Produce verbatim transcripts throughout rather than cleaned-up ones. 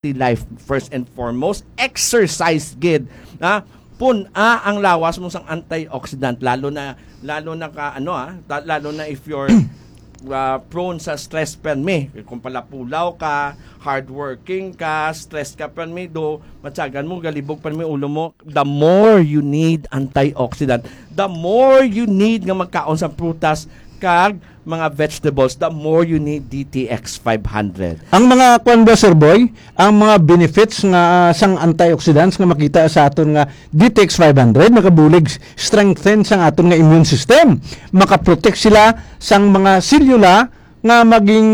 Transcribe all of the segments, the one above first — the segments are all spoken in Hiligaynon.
healthy life first and foremost. Exercise gid, ha? Pun-a ang lawas mo sang antioxidant, lalo na, lalo na ka, ano, ah, ta-, lalo na if you're, ah, prone sa stress permi. Kung palapulaw ka, hardworking ka, stress ka permi, do, matyagan mo, galibog permi ulo mo, the more you need antioxidant, the more you need nga magkaon sa prutas kag mga vegetables, the more you need D T X five hundred. Ang mga kwan ba, Sir Boy, ang mga benefits nga, ah, sang antioxidants nga makita sa aton nga D T X five hundred, nagabulig strengthen sang aton nga immune system. Makaprotect sila sang mga selula nga maging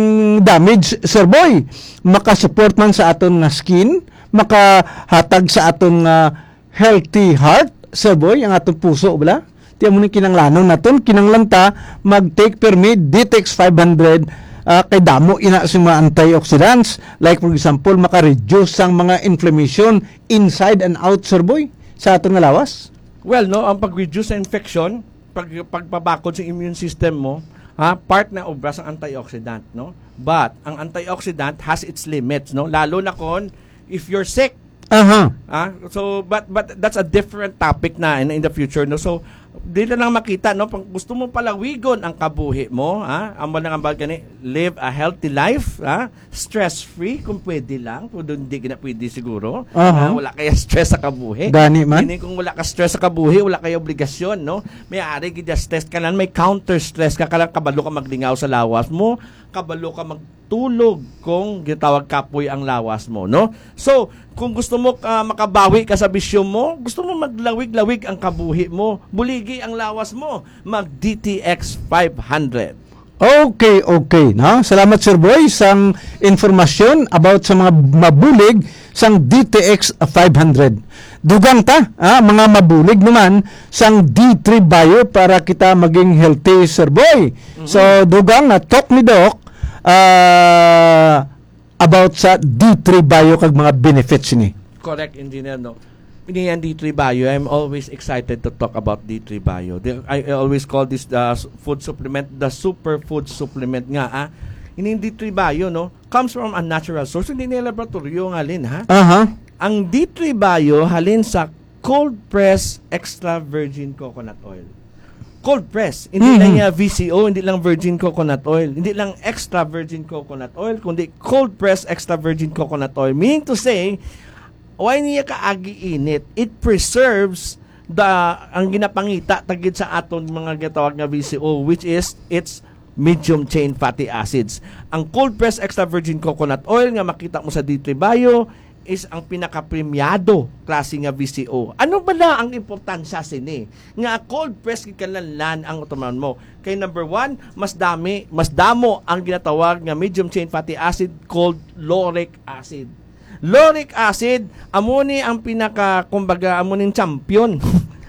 damage, Sir Boy. Makasupport man sa aton nga skin, makahatag sa aton nga healthy heart, Sir Boy, ang aton puso, bala. Ti amo ni kinanglanon naton, kinanglan ta mag-take permi D T X five hundred, ah, kay damo ina sa mga antioxidants. Like, for example, maka-reduce sang mga inflammation inside and out, Sir Boy, sa aton nga lawas. Well, no, ang pag-reduce sa infection, pag, pagpabakod sa immune system mo, ha, part na obra sang antioxidant, no? But ang antioxidant has its limits, no? Lalo na kon if you're sick. Aha. Ah, so, but, but that's a different topic na in, in the future, no? So, dili lang makita, no? Pag gusto mo palawigon ang kabuhi mo, ha? Amo lang ang bag gani, live a healthy life, ha? Stress-free, kung pwede lang. Kung doon, hindi gina pwede siguro. Aha. Ah, wala kaya stress sa kabuhi. Gani man. Meaning, kung wala ka stress sa kabuhi, wala kaya obligasyon, no? May ari gid stress ka lang, may counter stress ka, kalang kabalo ka maglingaw sa lawas mo, kabalo ka magtulog kung gitawag kapoy ang lawas mo, no? So, kung gusto mo, ah, makabawi ka sa bisyo mo, gusto mo maglawig-lawig ang kabuhi mo, buligi ang lawas mo, mag D T X five hundred. Okay, okay, no? Salamat, Sir Boy, sang informasyon about sa mga mabulig sang D T X five hundred. Dugang ta, ah, mga mabulig naman sang D three Bio para kita maging healthy, Sir Boy. Mhm. So, dugang na talk ni Doc, ah, about sa D three Bio kag mga benefits ni. Correct, Engineer, no? Ini ang D three Bio, I'm always excited to talk about D three Bio. The, I, I always call this the s-, food supplement, the superfood supplement nga, ah. Ini ang D three Bio, no? Comes from a natural source. Hindi ni laboratorio nga halin, ha? Aha. Ang D three Bio halin sa cold press extra virgin coconut oil. Cold press, hindi Mhm. lang niya V C O, hindi lang virgin coconut oil, hindi lang extra virgin coconut oil, kundi cold press extra virgin coconut oil. Meaning to say, why niya kaagi init? It preserves the, ang ginapangita tagid sa aton mga ginatawag nga V C O, which is its medium chain fatty acids. Ang cold press extra virgin coconut oil nga makita mo sa D three Bio is ang pinakapremyado klase nga V C O. Ano bala ang importansya sini? Nga cold press gid kinahanglan ang utuman mo. Kay number one, mas dami, mas damo ang ginatawag nga medium chain fatty acid called lauric acid. Lauric acid, amo ni ang pinaka, kumbaga, amo ning champion.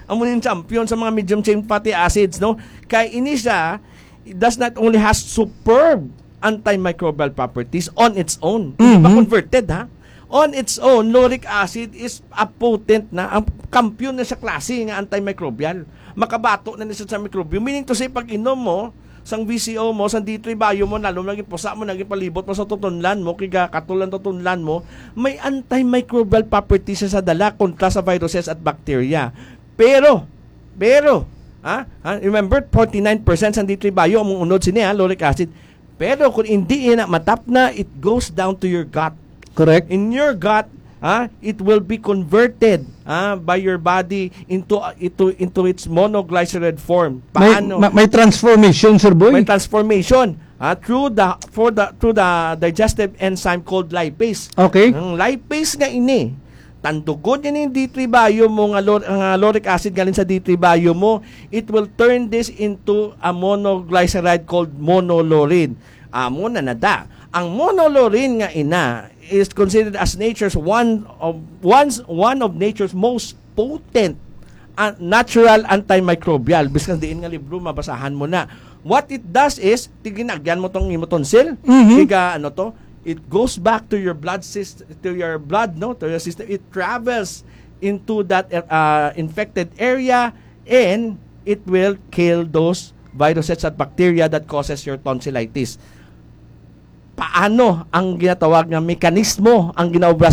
Amo ning champion sa mga medium chain fatty acids, no? Kay ini siya, it does not only has superb antimicrobial properties on its own, hindi pa Mhm. converted, ha? On its own, lauric acid is a potent na, ang kampiyon na sa klase nga antimicrobial. Makabato na ni siya sa mikrobyo. Meaning to say, pag inom mo, sang V C O mo, sang D three Bio mo, lalo na gipusa mo, naging palibot mo sa tutunlan mo, kay ga-, katol ang tutunlan mo, may antimicrobial properties siya sa dala kontra sa viruses at bacteria. Pero, pero, ha? Ha? Remember, forty-nine percent sang D three Bio, among unod sini, ha, lauric acid. Pero kung hindi ina matapna, it goes down to your gut. Correct. In your gut, ha, it will be converted, ha, by your body into, into, into its monoglyceride form. May, Paano? ma-, may transformation, Sir Boy? May transformation, ha, through the, for the, through the digestive enzyme called lipase. Okay. Ang lipase nga ini, tandugon ini yung D three Bio mo nga lor-, nga lauric acid galing sa D three Bio mo, it will turn this into a monoglyceride called monolaurin. Amo na nada. Ang monolaurin nga ina is considered as nature's one of, one's, one of nature's most potent, uh, natural antimicrobial. Biskan diin nga libro, mabasahan mo na. What it does is, tiginagyan mo tong imo tonsil, Mhm. tiga, ano to, it goes back to your blood syst-, to your blood, no, to your system. It travels into that, uh, infected area, and it will kill those viruses at bacteria that causes your tonsillitis. ano ang ginatawag nga mekanismo ang ginaobra